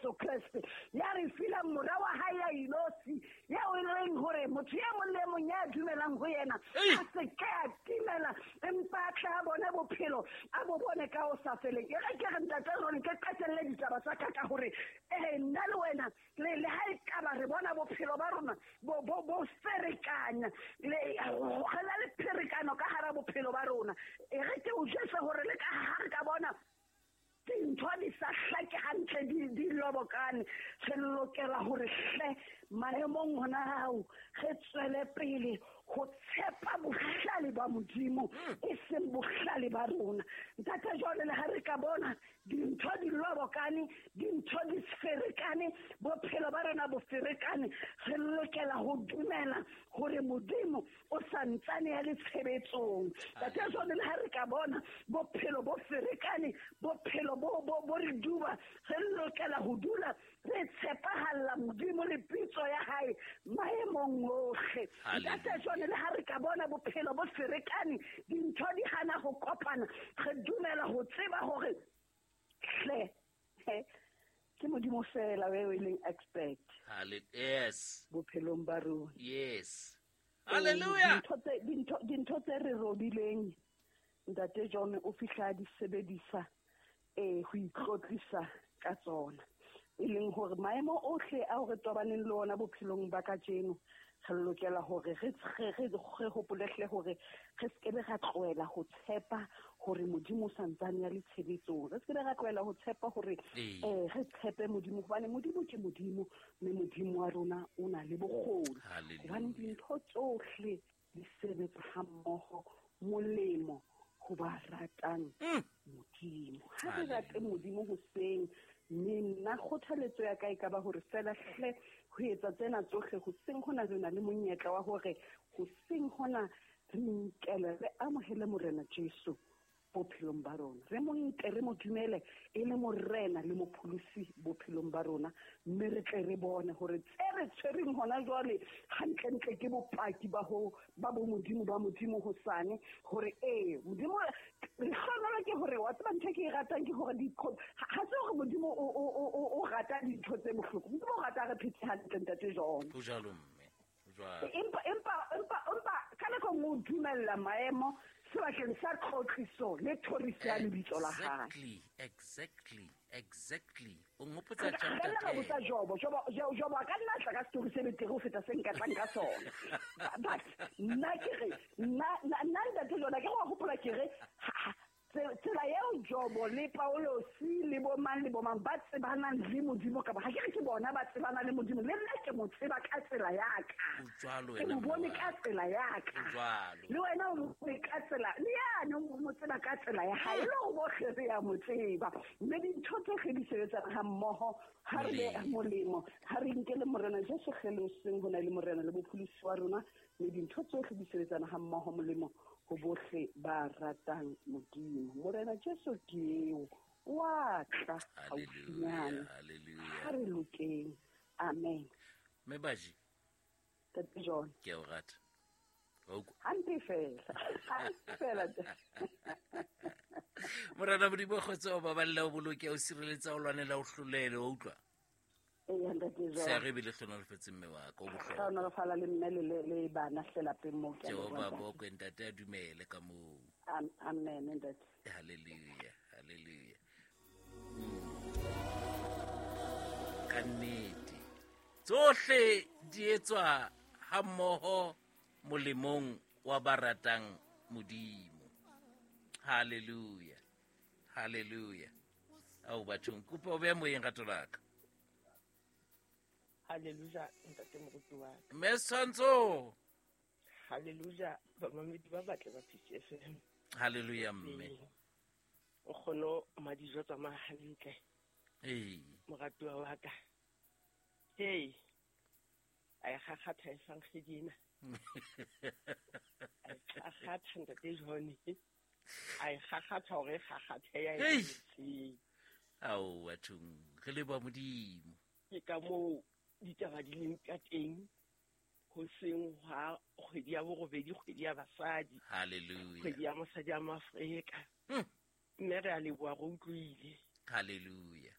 Jesu Kreste ya re fileng mora wa hae ya inosi, eo e leng hore motho e mong le e mong ya dumelang ho yena a se ke a timela, empa a tle a bone bophelo, a bo bone ka ho sa feleng. E re ke re, Ntate Ron, ke qetelle ditaba tsa ka ka hore ee, nna le wena le ha e kaba re bona bophelo ba rona bo ferekanya, le re na le pherekano ka hara bophelo ba rona. E re ke o jwetse hore le ka ha re ka bona dintho di sa hlake hantle, di lobokane, re lokela hore hle maemong hona ao re tswele pele ho tshepa bohlale ba Modimo, e seng bohlale ba rona. Ntate, jwale le ha re ka bona dintho di lobokane, dintho di ferekane, bophelo ba rona bo ferekane, re lokela ho dumela hore Modimo o santsane ya le tshebetsong. Ntate, jwale le ha re ka bona bophelo bo ferekane, bophelo bo re duba, re lokela ho dula re tshepahalla Modimo le pitso ya hae maemong ohle. Ntate, jwale le ha re ka bona bophelo bo ferekane, dintho di hana ho kopana, re dumela ho tseba hore hle ke Modimo fela eo e leng expert yes bophelong ba rona. Yes. Hallelujah. Dintho tse re robileng, Ntate John o fihla di sebedisa ho itlotlisa ka tsona, e leng hore maemo ohle ao re tobaneng le ona bophelong ba kajeno, re lokela hore re hopolehle hore re se ke be ra tlohela ho tshepa hore Modimo o santsane ya le tshebetsong. Re se ke be ra tlohela ho tshepa hore re tshepe Modimo, hobane Modimo ke Modimo, mme Modimo wa rona o na le bokgoni. Hobane dintho tsohle di sebetsa hammoho molemo ho ba ratang Modimo. Ha re rate Modimo hoseng, mme nna kgothaletso ya ka e ka ba hore fela hle ho etsa tsena tsohle hoseng hona re na le monyetla wa hore hoseng hona re nkele, re amohele Morena Jesu bophelong ba rona, re mo nke, re mo dumele e le Morena le Mopholosi bophelong ba rona, mme re tle re bone hore tse re tshwereng hona jwale hantlentle ke bopaki ba ho ba bo Modimo ba Modimo hosane, hore ee Modimo re hlonolo ke hore wa tseba ntho e ke e ratang ke hore ha se hore Modimo o rata dintho tse bohloko, Modimo o rata re phetse hantle, Ntate John. Ho jwalo, mme. Empa ka nako nngwe o dumella maemo sebakeng sa tlotliso le thoriso ya lebitso la hae. Exactly. O nghopotsa chapter Re nna botsa Jobo, Jobo a ka nna tla ka story se betere ho feta se nka tlang ka sona. But nna ke re, nna Ntate John, ke go hopola ke re, tsela eo Jobo le Paulosi le bo mang le bo mang ba tsebanang le Modimo ka ba, ha ke re ke bona ba tsebanang le Modimo, le nna ke mo tseba ka tsela ya ka. Ke mo bone ka tsela ya ka. Le wena o mo bone ka tsela, le yane o mo tseba ka tsela ya hae, le hore bohle re ya mo tseba. Mme dintho tsohle di sebetsana ha mmoho, ha re be molemo, ha re nke le Morena Jesu kgele hoseng ho na le Morena le Mopholosi wa rona, mme dintho tsohle di sebetsana ha mmoho molemo ho bohle ba ratang Modimo. Morena Jesu ke eo, wa tla haufinyane. Ha re lokeng. Amen. Mme Baji. Ntate John. Ke a o rata. Hampe fela. Hampe fela. Morena Modimo kgotsa o baballe, o boloke, o sireletsa, o lwanela, o hlolele, o utlwa. Ee, Ntate John. Se re bile hlonolofetse mme wa ka, o bohlokwa. Hlonolofala le mme le bana hle lapeng moo, ke a Jehova leboha, Ntate. bokwe, Ntate a dumele ka moo. Amen, Ntate. Hallelujah, hallelujah. Ka nnete. Tsohle di etswa ha mmoho molemong wa ba ratang Modimo. Hallelujah, hallelujah. Ao bathong, kopa o beha moyeng rato la ka. Hallelujah, Ntate moruti wa ka. Mme Setshwantsho. Hallelujah, bamamedi ba batle ba Peace FM. Hallelujah, mme. Ee. O kgono madijo tsamaya hantle. Ee. Moratuwa wa ka. Hey. A e kgakgatha e fang ena. A e kgakgatha Ntate John. A e kgakgatha hore e kgakgathe ya e Hey. etseng. Ao bathong, re leboha Modimo. Ke ka moo ditaba di leng ka teng hoseng hwa kgwedi ya borobedi, kgwedi ya basadi. Hallelujah. Kgwedi ya mosadi ya Maafrika. Mme re a leboha, re utlwile. Hallelujah.